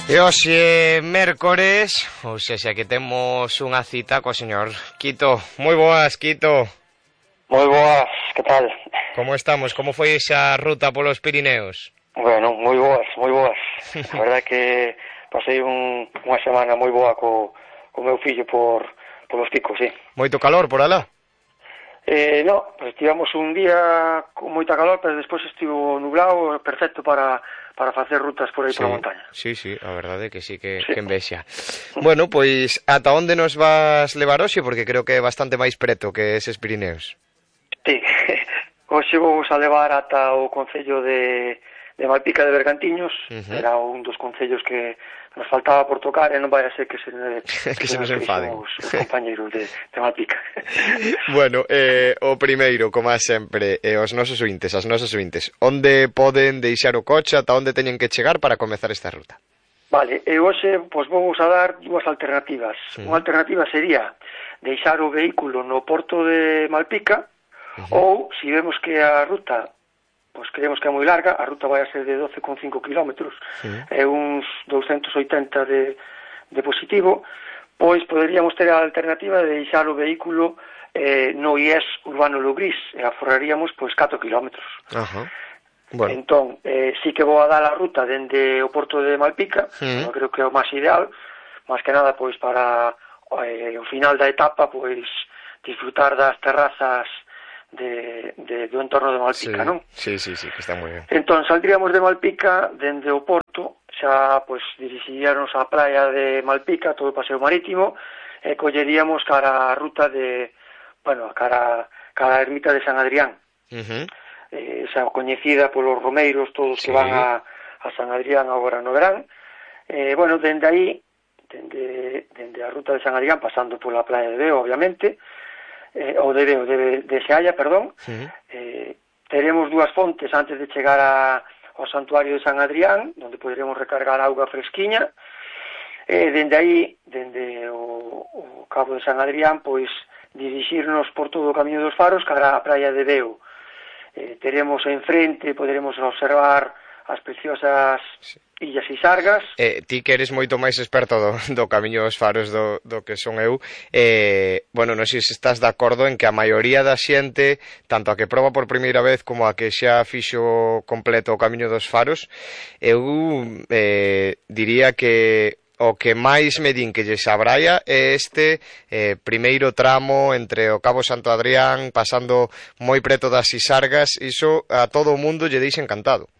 E hoxe mércores, ou sexa que temos unha cita co señor Quito. Moi boas, Quito. Moi boas, que tal? Como estamos? Como foi esa ruta polos Pirineos? Bueno, moi boas, moi boas. A verdade que pasei unha semana moi boa co meu fillo polos picos, sí. Moito calor por alá? No, pues tivemos un día con moita calor, pero despois estivo nublado, perfecto para facer rutas por aí, sí, pola montaña. Sí, a verdade que sí, que envexa. Bueno, pois, ata onde nos vas levar hoxe? Porque creo que é bastante máis preto que eses Pirineos. Sí, hoxe vamos a levar ata o concello de Malpica de Bergantiños. Era un dos concellos que nos faltaba por tocar e non vai a ser que se nos enfaden os compañeros de Malpica. Bueno, o primeiro, como sempre, os nosos ointes, as nosas ointes, onde poden deixar o coche, ata onde teñen que chegar para comezar esta ruta? Vale, e hoxe pois vamos a dar dúas alternativas. Unha alternativa sería deixar o vehículo no porto de Malpica, ou, se vemos que a ruta pois creemos que é moi larga, a ruta vai a ser de 12,5 kilómetros, é uns 280 de positivo, pois poderíamos ter a alternativa de deixar o vehículo no IES Urbano Lugrís, e aforraríamos pois 4 kilómetros. Bueno. Entón, sí que vou a dar a ruta dende o porto de Malpica, eu creo que é o máis ideal, máis que nada pois para o final da etapa pois disfrutar das terrazas do entorno de Malpica, non? Sí, que está moi ben. Entón, saldríamos de Malpica, dende o porto, xa, pois, dirixiríamos á praia de Malpica, todo o paseo marítimo, e colleríamos cara a ruta cara a ermita de San Adrián. Xa coñecida polos romeiros, todos que van a San Adrián agora no verán. Bueno, dende aí, dende a ruta de San Adrián, pasando pola praia de Veo, obviamente, de Sealla, perdón, teremos dúas fontes antes de chegar ao santuario de San Adrián, onde poderemos recargar auga fresquiña, dende aí, dende o cabo de San Adrián, pois dirixirnos por todo o camiño dos faros cara á praia de Veo. Teremos enfrente, poderemos observar as preciosas illas Sisargas. Ti que eres moito máis experto do camiño dos faros do que son eu, bueno, non sei se estás de acordo en que a maioría da xente, tanto a que proba por primeira vez como a que xa fixo completo o camiño dos faros, eu diría que o que máis me din que lles abraia é este primeiro tramo entre o Cabo Santo Adrián, pasando moi preto das Sisargas. Iso a todo o mundo lle deixa encantado.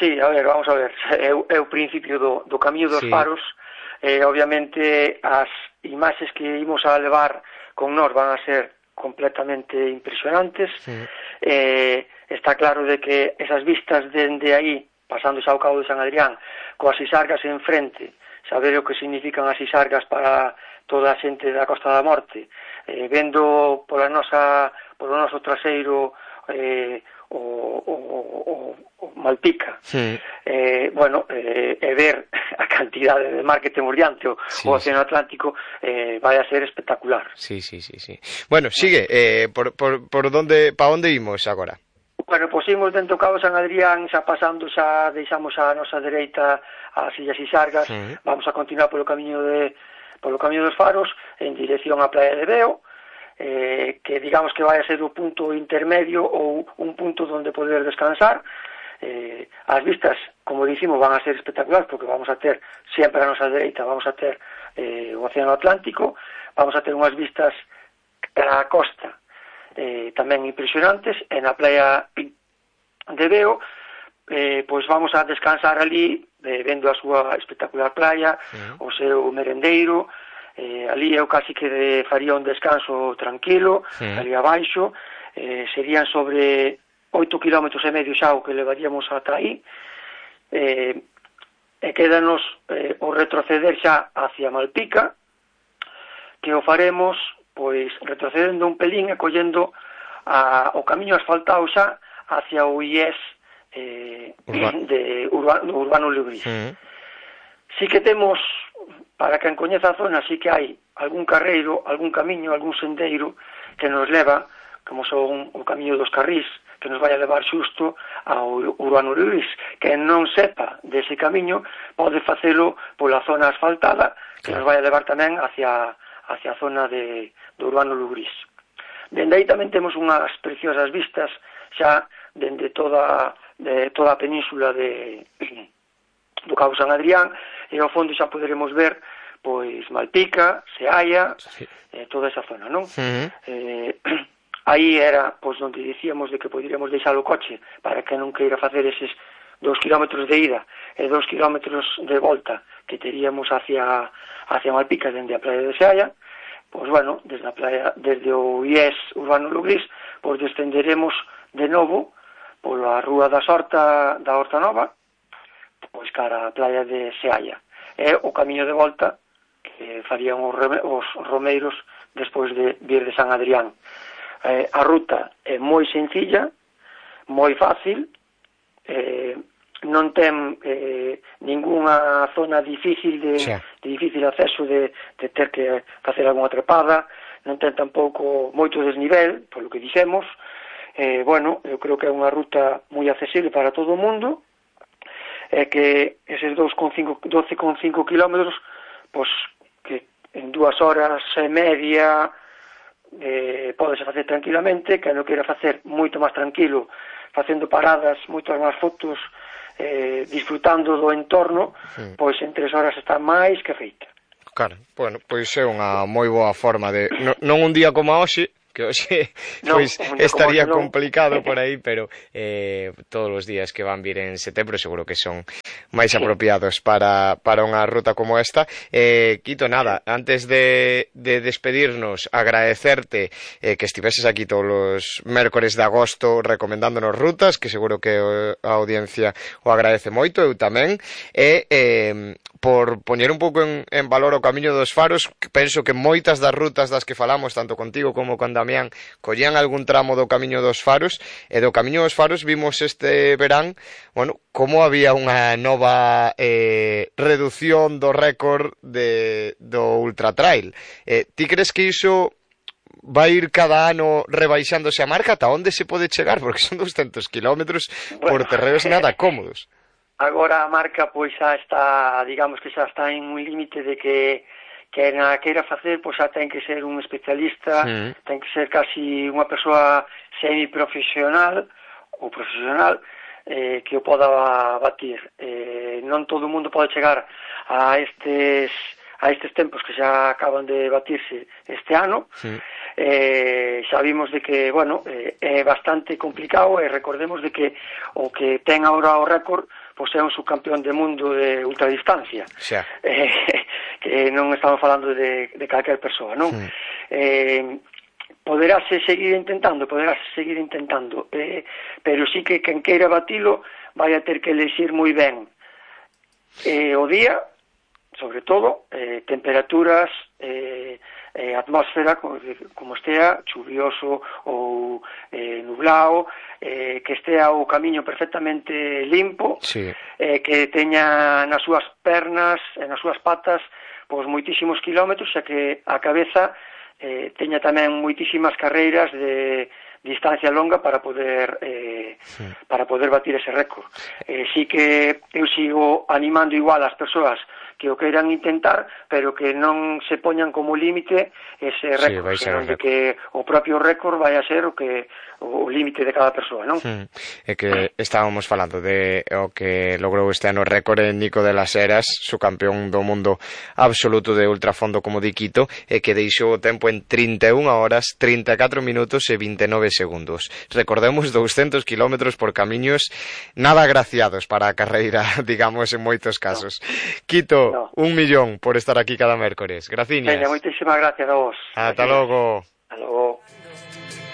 Sí, a ver, vamos a ver, é o principio do camiño dos faros, obviamente as imaxes que imos a levar con nós van a ser completamente impresionantes, está claro de que esas vistas dende aí, pasando xa ao Cabo de San Adrián, coas Sisargas enfrente, saber o que significan as Sisargas para toda a xente da Costa da Morte, vendo polo noso traseiro o Malpica, bueno, e ver a cantidade de mar que temos diante, o Océano Atlántico, vai a ser espectacular. Sí. Bueno, sigue, por onde, pa onde imos agora? Bueno, pois imos dentro do Cabo San Adrián, xa pasando, xa deixamos a nosa dereita as illas Sisargas, vamos a continuar polo camiño dos faros, en dirección á praia de Veo, que digamos que vai a ser o punto intermedio ou un punto onde poder descansar. As vistas, como dicimos, van a ser espectaculares porque vamos a ter sempre a nosa dereita, vamos a ter o Océano Atlántico, vamos a ter unhas vistas cara a costa tamén impresionantes, e na praia de Veo pois vamos a descansar ali vendo a súa espectacular praia, o seu merendeiro. Ali eu casi que faría un descanso tranquilo, ali abaixo, serían sobre 8 km e medio xa o que levaríamos ata aí, e quédanos o retroceder xa hacia Malpica, que o faremos pois retrocedendo un pelín e collendo o camiño asfaltado xa hacia o IES de Urbano Lugrís. Sí que temos, para quen coñeza a zona, sí que hai algún carreiro, algún camiño, algún sendeiro que nos leva, como son o camiño dos Carrís, que nos vai a levar xusto ao Urbano Lugrís. Que non sepa dese camiño pode facelo pola zona asfaltada, que nos vai a levar tamén hacia a zona do Urbano Lugrís. Dende aí tamén temos unhas preciosas vistas xa dende toda a península do Cabo San Adrián, e ao fondo xa poderemos ver pois Malpica, Seaia, toda esa zona, non? Aí era pois onde dicíamos de que poderíamos deixar o coche para que non queira facer eses 2 kilómetros de ida e 2 kilómetros de volta que teríamos hacia Malpica dende a praia de Seaia. Pois bueno, desde o IES Urbano Lugrís, pois descenderemos de novo pola Rúa da Horta Nova, pois cara a praia de Seaia. É o camiño de volta que farían os romeiros despois de vir de San Adrián. A ruta é moi sencilla, moi fácil, non ten ningunha zona difícil de difícil acceso, de ter que facer algunha trepada, non ten tampouco moito desnivel, polo que dixemos. Bueno, eu creo que é unha ruta moi accesible para todo o mundo, e que eses 12,5 kilómetros, pois que en 2 horas e media podese facer tranquilamente, que non queira facer moito máis tranquilo, facendo paradas, moitas máis fotos, disfrutando do entorno, pois en 3 horas está máis que feita. Claro, bueno, pois é unha moi boa forma de... Non un día como hoxe, que hoxe pois estaría complicado por aí, pero todos os días que van vir en setembro seguro que son máis apropiados para unha ruta como esta. Quito, nada, antes de despedirnos, agradecerte que estiveses aquí todos os mércores de agosto recomendándonos rutas, que seguro que a audiencia o agradece moito, eu tamén, e por poñer un pouco en valor o Camiño dos Faros. Penso que moitas das rutas das que falamos, tanto contigo como con Damián, collían algún tramo do Camiño dos Faros, e do Camiño dos Faros vimos este verán, bueno, como había unha nova reducción do récord do Ultra Trail. Ti crees que iso vai ir cada ano rebaixándose a marca? Ata onde se pode chegar? Porque son 200 kilómetros por terreos nada cómodos. Agora a marca pois xa está, digamos que xa está en un límite de que na queira facer, pois xa ten que ser un especialista, ten que ser casi unha persoa semiprofesional ou profesional que o poda batir. Non todo o mundo pode chegar a estes tempos que xa acaban de batirse este ano. Xa vimos de que, bueno, é bastante complicado, e recordemos de que o que ten agora o récord pois é un subcampeón de mundo de ultradistancia, que non estamos falando de calquer persoa, non? Poderase seguir intentando, pero sí que quen queira batilo vai a ter que elexir moi ben o día, sobre todo, temperaturas, atmósfera, como estea, chuvioso ou nublado, que estea o camiño perfectamente limpo, que teña nas súas pernas e nas súas patas pois moitísimos kilómetros, xa que a cabeza teña tamén moitísimas carreiras de distancia longa para poder batir ese récord. Sí que eu sigo animando igual as persoas que o queiran intentar, pero que non se poñan como límite ese récord, senón de que o propio récord vai a ser o límite de cada persoa, non? É que estábamos falando de o que logrou este ano récord en Nico de las Heras, su campeón do mundo absoluto de ultrafondo como di Quito, e que deixou o tempo en 31 horas, 34 minutos e 29 segundos. Recordemos 200 kilómetros por camiños nada agraciados para a carreira, digamos, en moitos casos. Quito, 1 millón por estar aquí cada mércores. Graciñas. Moitísimas gracias a vos. Ata logo. Ata logo.